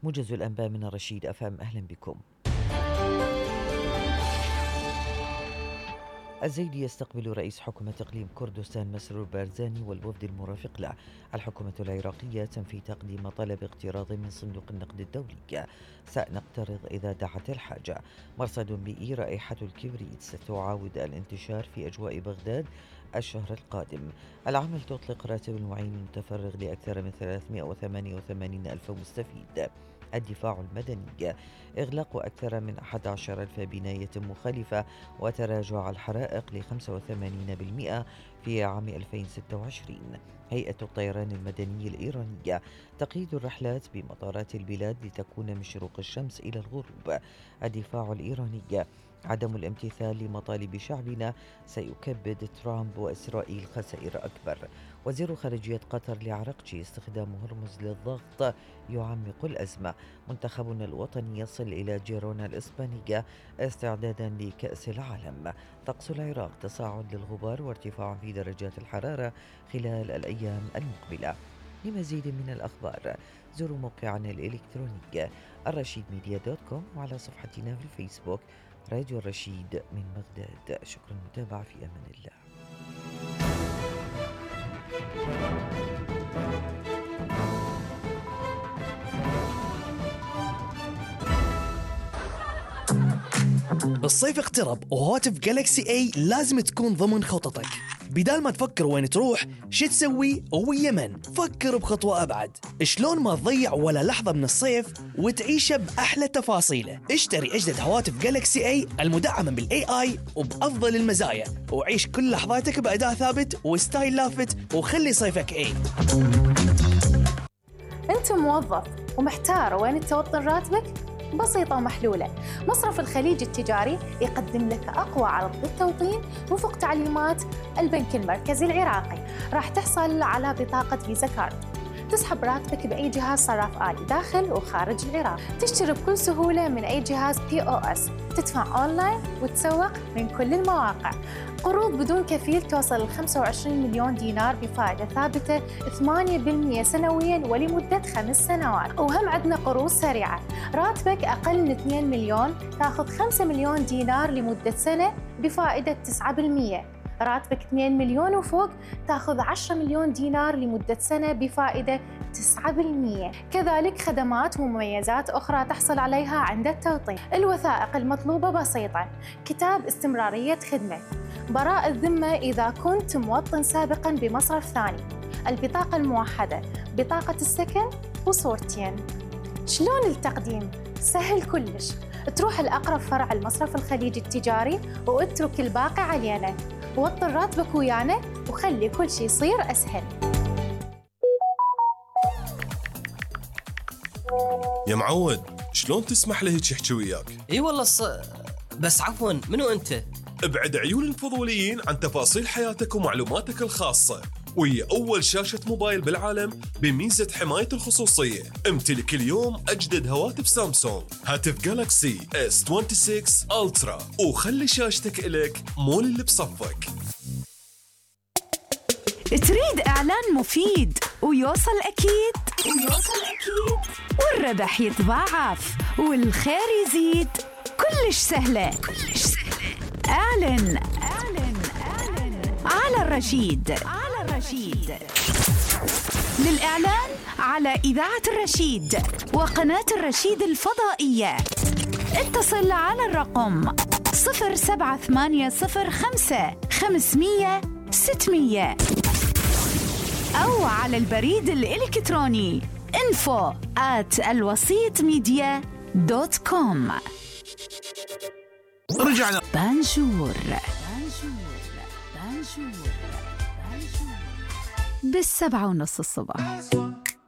موجز الأنباء من الرشيد أفهم، أهلا بكم. الزيدي يستقبل رئيس حكومة إقليم كردستان مسرور بارزاني والوفد المرافق له. الحكومة العراقية تنفي تقديم طلب اقتراض من صندوق النقد الدولي، سنقترض إذا دعت الحاجة. مرصد بيئي، رائحة الكبريت ستعاود الانتشار في أجواء بغداد الشهر القادم. العمل تطلق راتب المعين المتفرغ لأكثر من 388 ألف مستفيد. الدفاع المدني، إغلاق أكثر من 11,000 بناية مخالفة وتراجع الحرائق ل 85% في عام 2026. هيئة الطيران المدني الإيرانية تقييد الرحلات بمطارات البلاد لتكون من شروق الشمس إلى الغروب. الدفاع الإيراني، عدم الامتثال لمطالب شعبنا سيكبد ترامب وإسرائيل خسائر أكبر. وزير خارجية قطر لعرقجي، استخدام هرمز للضغط يعمق الأزمة. منتخبنا الوطني يصل إلى جيرونا الإسبانية استعدادا لكأس العالم. طقس العراق، تصاعد للغبار وارتفاع في درجات الحرارة خلال الأيام المقبلة. لمزيد من الأخبار زوروا موقعنا الإلكتروني الرشيدميديا.com وعلى صفحتنا في الفيسبوك راديو الرشيد من بغداد. شكرا للمتابعة، في أمان الله. الصيف اقترب وهاتف جالكسي اي لازم تكون ضمن خططك. بدال ما تفكر وين تروح شو تسوي ويمن، فكر بخطوة أبعد. شلون ما تضيع ولا لحظة من الصيف وتعيشه بأحلى تفاصيله. اشتري أجدد هواتف جالكسي اي المدعمة بالاي اي وبأفضل المزايا، وعيش كل لحظاتك بأداء ثابت وستايل لافت، وخلي صيفك اي. أنت موظف ومحتار وين توطن راتبك؟ بسيطة ومحلولة. مصرف الخليج التجاري يقدم لك أقوى عرض للتوطين وفق تعليمات البنك المركزي العراقي. راح تحصل على بطاقة فيزا كارد، تسحب راتبك بأي جهاز صراف آلي داخل وخارج العراق، تشتري بكل سهولة من أي جهاز POS، تدفع أونلاين وتسوق من كل المواقع. قروض بدون كفيل توصل ل 25 مليون دينار بفائدة ثابتة 8% سنوياً ولمدة 5 سنوات. وهم عندنا قروض سريعة، راتبك أقل من 2 مليون تأخذ 5 مليون دينار لمدة سنة بفائدة 9%. راتبك 2 مليون وفوق تأخذ 10 مليون دينار لمدة سنة بفائدة 9%. كذلك خدمات ومميزات أخرى تحصل عليها عند التوطين. الوثائق المطلوبة بسيطة: كتاب استمرارية خدمة، براءة الذمة إذا كنت موطن سابقاً بمصرف ثاني، البطاقة الموحدة، بطاقة السكن وصورتين. شلون التقديم؟ سهل كلش، تروح الأقرب فرع المصرف الخليج التجاري واترك الباقي علينا. وطن راتبك ويانا وخلي كل شيء يصير أسهل. يا معود، شلون تسمح لي هيك يحكي وياك؟ اي والله بس عفوا، منو انت؟ ابعد عيون الفضوليين عن تفاصيل حياتك ومعلوماتك الخاصة، وهي أول شاشة موبايل بالعالم بميزة حماية الخصوصية. امتلك اليوم أجدد هواتف سامسونج، هاتف جالكسي S26 ألترا، وخلي شاشتك إلك مول اللي بصفك. تريد إعلان مفيد ويوصل أكيد والربح يتضاعف والخير يزيد، كلش سهلة. اعلن على الرشيد. للإعلان على إذاعة الرشيد وقناة الرشيد الفضائية اتصل على الرقم 07805 أو على البريد الإلكتروني info@alwasitmedia.com. رجعنا. بانجور بالسبعة ونص الصبح.